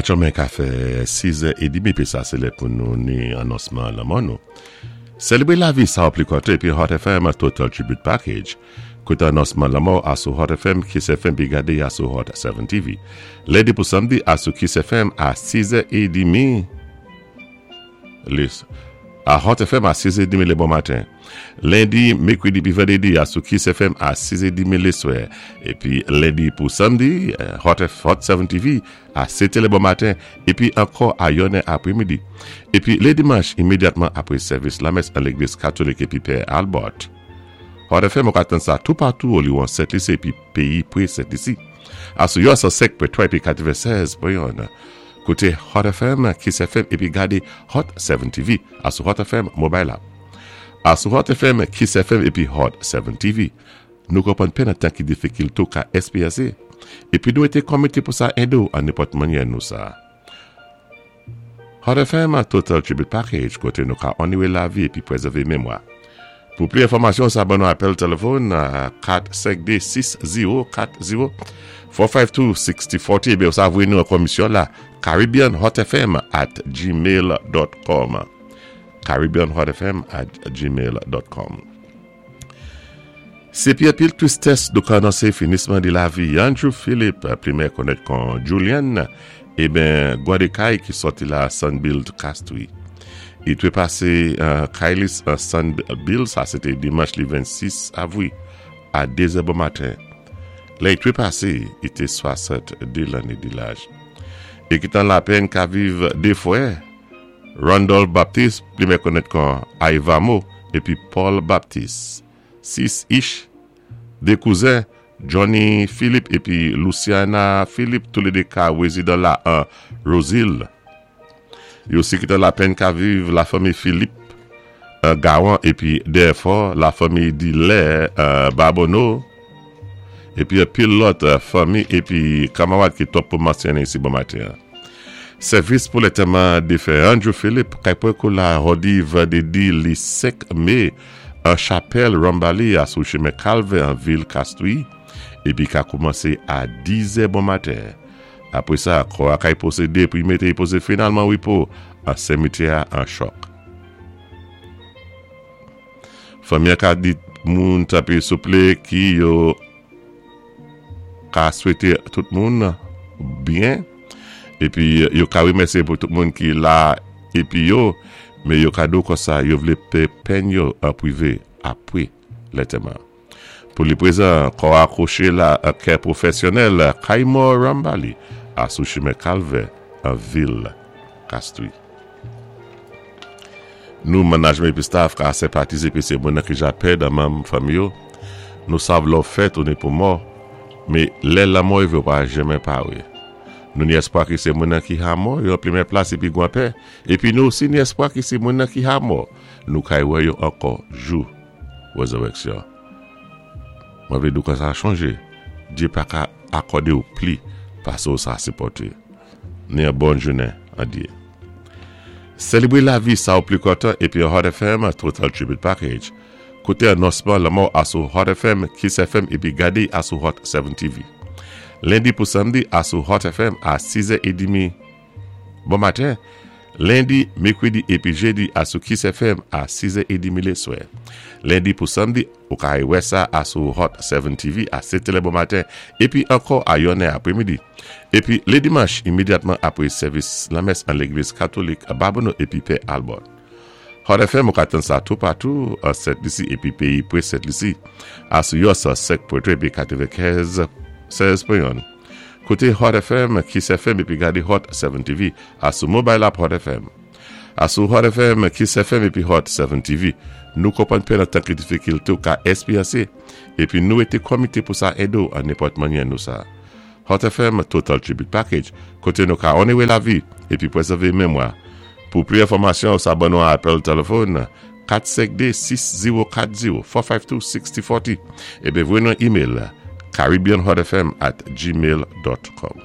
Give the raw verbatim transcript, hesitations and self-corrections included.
Aktyèlman ka fè sis è édmi, pi sa sé lè pou nou ni anonsman lanmò nou. Sélébwé lavi sa ou pli konté pi Hot F M Total Tribute Package. Kouté anonsman lanmò asou Hot F M, Kiss F M pi gadé asou Hot sèt T V. Lendi pou samdi asou Kiss F M a sis è édmi. Lis. A Hot F M a sis è édmi lé bon maten. Lendi, mèkwédi pi vandédi asou Kiss F M a sis è édmi lé swè. Épi lendi pou samdi, Hot, F, Hot sèt T V a sèt è lé bon maten épi ankò a yonnè apwé midi. Épi lé dimanch, imédyatman apwé sèvis lamès an légliz katolik épi Pè Albert. Hot F M ou ka tann sa toupatou oliwon Sent Lisi épi péyi pwé Sent Lisi. Asou yo san senk pwen twa épi katwennsèz pwen youn. Kouté Hot F M, Kiss F M épi gadé Hot sèt T V asou Hot F M Mobile App. Asou Hot F M, Kiss F M épi Hot sèt T V. Nou konpwann pèn an tan ki difikilté ou ka èkspéryansé. Épi nou été komité pou sa édé ou an nenpòt mannyè nou sa. Hot F M Total Tribute Package, koté nou ka onowé lavi épi pwézèvé mémwa. Pou pli enfòmasyon, sa ban nou apèl téléfòn a kat senk dé sis zéwo kat zéwo kat senk de sis zéro kat zéro ébi sa voyé nou an komisyon la caribbeanhotfm at gmail dot com, caribbeanhotfm at gmail dot com. Sé pi anpil twistès nou ka anonsé finisman di lavi Andrew Philip, pli konnèt kon Julian, ében gwadé kay ki sòti la Sunbuild Castries. I twé pasé uh, kay-li uh, Sunbuild, sa sé té dimanch li vennsis avwi a dé zè bon maten. Lè i twé pasé, i té swasanntdé lanné di laj. É kitan lapèn ka viv dé fwè, Randolph Baptiste, pli konnèt kon Aivamo, épi Paul Baptiste. Sis ich, dé kouzen, Johnny Philip épi Luciana Philip, toulédé ka wézidan la an Roseville. Yo osi kitan lapèn ka viv la fanmi Philippe euh, Gawan épi dèfò la fanmi Dilè euh, Babonneau épi pil lòt euh, fanmi épi kanmarad ki twòp pou mansyoné isi bon maten. Sèvis pou lantèman défen Andrew Philip kay pwan kou la jòdi vandédi li senk mé an chapèl Rambali asou chimen Calvin an vil Castries épi ka koumansé a diz è bon maten. Apwé sa, kò a kay pwosédé pou y mété y pozé finalman wépo an simityè an Choc. Fanmi ka di moun tanpwi souplé ki yo ka swété tout moun byen épi yo ka wémèsyé pou tout moun ki la épi yo men yo ka di kon sa yo vlé pé pèn yo an pwivé apwé lantèman. Pou li pwézan, kò a kouché la kè pwofèsyonèl Kaimo Rambali asou chimen Calvin an vil Castries. Nou manajman épi staff ka senpatizé épi sé moun ki ja pèd an manm fanmi yo. Nou sav lò fèt ou ni pou mò, mé lè lanmò rivé ou pa janmen pawé. Nou ni èspwa ki sé moun ki ha mò, yo plimè plas épi gwan pè, épi nou osi ni èspwa ki sé moun ki ha mò, nou kay wè yo ankò jou wézirèksyon. Mwen vlé di ou sa chanjé. Dye pa ka akòdé ou pli pasé ou sa sipòté. Ni yon bòn jounen an Dye. Sélébwé lavi sa ou pli kontan épi Hot F M Total Tribute Package. Kouté anonsman lanmò asou Hot F M, Kiss F M épi gadé asou Hot sèt T V. Lendi pou samdi asou Hot F M a sis è édmi bon maten. Lendi, mèkwédi épi jédi asou Kiss F M a sis è édmi lé swè. Lendi pou samdi, ou ka wè sa asou Hot sèt T V a sèt è bon maten épi ankò a yonnè apwé midi. Épi lé dimanch, imédyatman apwé sèvis lamès an légliz katolik Babonneau épi Pè Albert. Hot F M ou ka tann sa toupatou an Sent Lisi épi péyi pwé Sent Lisi. Asou yo san senk pwen twa épi katwennkèz sèz pwen youn. Kouté Hot F M, Kiss F M épi gadé Hot sèt T V asou mobile app Hot F M. Asou Hot F M, Kiss F M épi Hot sèt T V. Nou konpwann pèn an tan ki difikilté ou ka èkspéryansé épi nou été komité pou sa édé ou an nenpòt mannyè nou sa. Hot F M Total Tribute Package, koté nou ka onowé lavi épi pwézèvé mémwa. Pou pli enfòmasyon, sa ban nou apèl téléfòn kat senk dé sis zéwo kat zéwo kat senk de sis zéro kat zéro ébi voyé nou email caribbeanhotfm at gmail dot com.